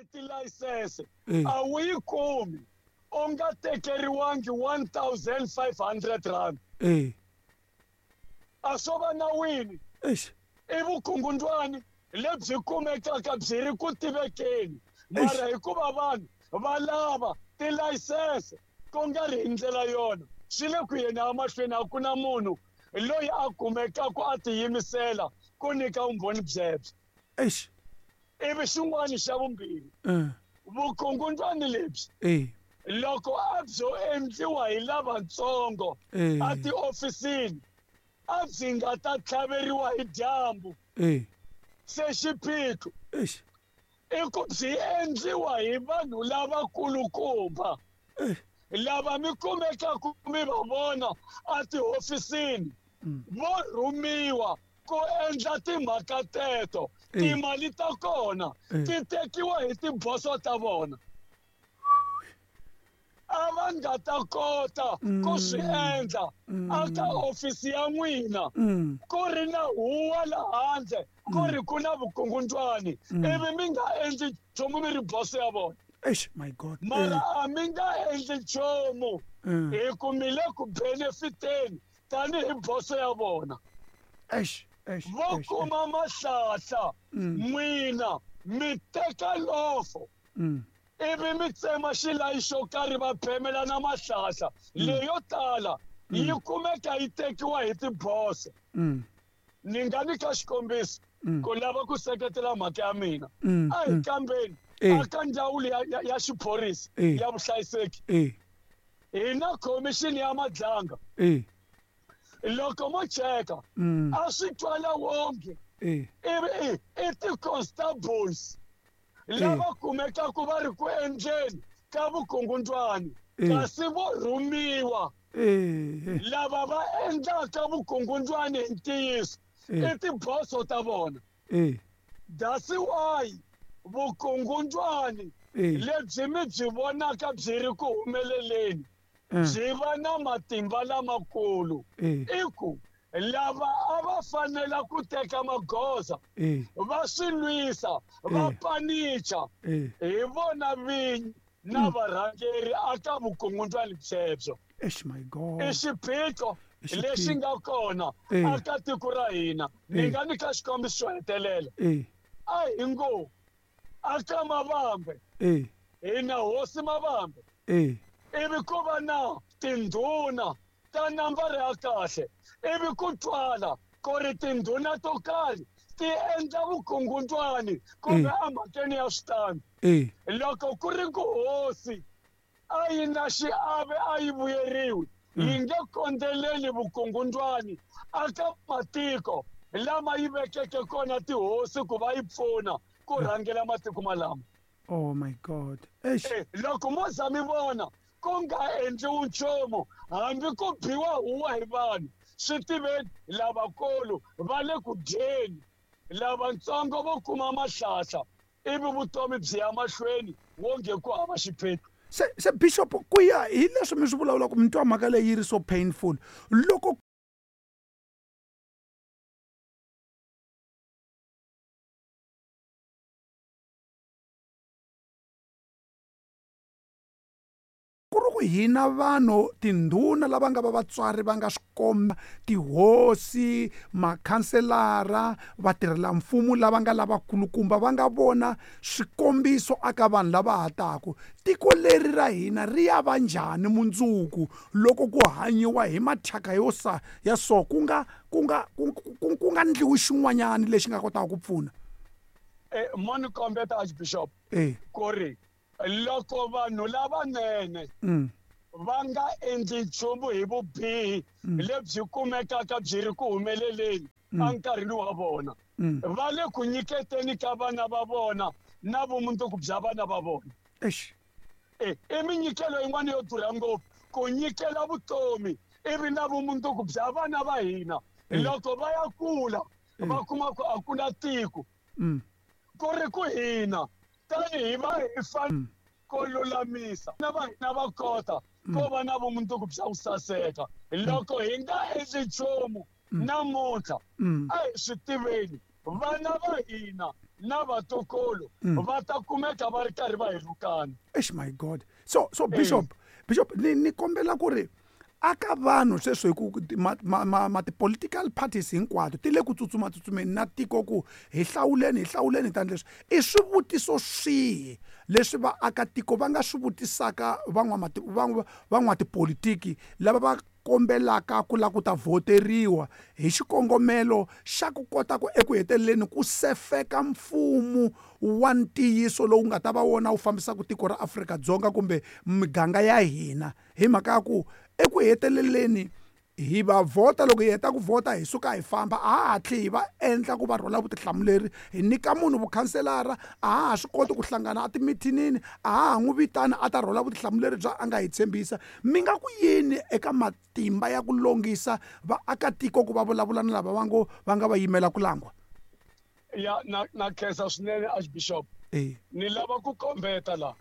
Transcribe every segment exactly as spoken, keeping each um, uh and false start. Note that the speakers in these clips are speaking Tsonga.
ri tilayisense Eh. a wu yi kumi u nga tekeriwangi one thousand five hundred rand Eh. a swo va nawini Eish. i vukungundwani lebyi kumekaka byi ri ku tivekeni mara hikuva vanhu va lava tilayisense ku nga ri hi ndlela yona swi le ku yeni emahlweni a ku na munhu loyi a kumekaka a tiyimisela ku nyika vumbhoni byebyo Eish. ivi xin'wana xa vumbirhi Eh. vukungundwani lebyi Eh. loko a byo endliwa hi lavatsongo Eh. a tiofisini a byi nga ta tlhaveriwa hi dyambu Eh. se xiphiqo Eish. i ku byi endliwa hi vanhu lavakulukumba Eh. lava mi kumekaku mi va vona a tihofisini Mm. vo rhumiwa ku endla timhaka teto Eh. timali ta kona Eh. ti tekiwa hi tiboso ta vona a va nga ta kota ku swi endla aka ofisi ya n'wina Mm. ku ri na huwa la handle ku ri ku na vukungundwani ivi mi nga endli nchumu mi ri boso ya vona Eish, my God. mara a mi nga endli nchumu Eh. hi ku mi le ku benefiteni tanihi boso ya vona Eish. Eish. vo Eish. kuma mahlahla Mm. n'wina mi teka lofo Mm. ivi mi tsema xilayi xo karhi va phemelana mahlahla leyo tala yi kumeka yi tekiwa hi tiboso Mm. ni nga nyika xikombiso Mm. ku lava ku seketela mhaka ya mina Mm. a hi Mm. kambeni Eh. aka ndzawulo ya, ya, ya xiphorisa Eh. ya vuhlayiseki Eh. hi na khomixini ya madlanga Eh. loko mo cheka Mm. a swi twala wonge Eh. ivi i i ti-constables lava kumekaku va ri ku endleni ka vukungundwani Eh. kasi vo rhumiwa Eh. lava va endlaka vukungundwani hi ntiyiso Eh. i tiboso ta vona Eh. that's why vukungundwani Eh. lebyi mi byi vonaka byi ri ku humeleleni Eh. byi va na matimba lamakulu Eh. i ku lava a va fanela ku teka magoza Eh. va swi lwisa va Eh. panicha Eh. hi vona vinyi na varhangeri aka vukungundwani byebyo Eish, my God. i xiphiqo I xiphiqo. lexi nga kona Eh. aka tiko ra hina ni Eh. nga nyika xikombiso xo hetelela Eh. a hi ngo aka mavambe Eh. hi na hosi mavambe Eh. ivi ku va na tindhuna ta nambara ya kahle ivi ku twala ku ri tindhuna to karhi ti endla vukungundwani kumbe Eh. emhakeni ya switandi Eh. loko ku ri ku hosi a yi na xiave a yi vuyeriwi yi nge kondzeleli vukungundwani aka matiko lama yi vekeke kona tihosi ku va yi pfuna ku rhangela matiko malama Oh my God. Eish. Eh, loko mo za mi vona ku nga endliwi nchumu hambi ku biwa huwa hi vanhu swi tiveni lavakulu va le ku dyeni lavatsongo vo kuma mahlahla ivi vutomi byi ya mahlweni wonge ku hava xiphiqo Se se bishop ku ya hi leswi mi swi vulavulaka mi twa mhaka leyi yi ri so painful loko ku ri ku hina vanhu tindhuna lava nga va vatswari va nga swi komba tihosi makhanselara vatirhelamfumo lava nga lavakulukumba va nga vona swikombiso aka vanhu lava ha taku tiko leri ra hina ri ya va njhani mundzuku loko ku hanyiwa hi mathyaka yo sa ya so ku nga ku nga ku ku- ku nga ndliwi xin'wanyani lexi nga kotaka ku pfuna Eh, mo ni kombeta archbishop e ku ri loko vanhu lavanene mm. va nga endli nchumu hi vubihi lebyi kumekaka byi ri ku humeleleni enkarhini wa vona Mm. va le ku nyiketeni ka vana va vona na vumundzuku bya vana va vona Eish. Eh, i minyikelo yin'wana yo durha ngopfu ku nyikela vutomi ivi na vumundzuku bya vana va hina loko va ya kula va kuma ku a ku na tiko Mm. ku ri ku hina tanihi va hi fan ko lulamisa na va hina va kota ko va na vumundzuku bya ku saseka loko hi nga endli nchumu namuntlha Mm. a hi swi tiveni vana va hina na vatukulu va ta kumeka va ri karhi va hi rhukana. Eish, my God. So so bishop bishop ni ni kombela ku ri aka vanhu sweswi hi ku ma, ma, ma, ma ti-political parties hinkwato ti le ku tsutsuma-tsutsumeni na tiko ku hi hlawuleni hi hlawuleni tani leswi i swivutiso swihi leswi vaakatiko va nga swi vutisaka van'watipolitiki lava va kombelaka ku lava ku ta vhoteriwa hi xikongomelo xa ku kota ku eku heteleleni ku sefeka mfumo wa ntiyiso lowu nga ta va wona wu fambisaka tiko ra Afrika-Dzonga kumbe miganga ya hina hi mhaka ya ku eku heteleleni hi va vhota loko hi heta ku vhota hi suka hi famba a ha hatli hi va endla ku va rhwala vutihlamuleri hi nyika munhu vukhanselara a ha ha swi koti ku hlangana etimithinini a ha ha n'wi vitana a ta rhwala vutihlamuleri bya a nga hi tshembisa. Mi nga ku yini eka matimba ya ku longisa vaakatiko ku va vulavula na lava va ngo va nga va yimela ku langwa? Ya na na khensa swinene Archbishop. E ni lava ku kombeta la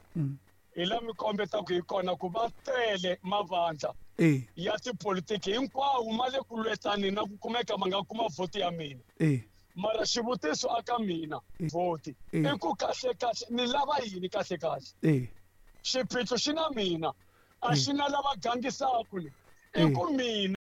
hi la mi kombetaka hi kona ku va tele mavandla e ya tipolitiki hinkwawo ma le ku lwetani na ku kumeka ma nga kuma vhoti ya mina. E mara xivutiso aka mina vhoti Eh. i ku kahle kahle ni lava yini kahle kahle? E xiphiqo xi na mina a xi na lava gangisaka ni i Eh. ku mina.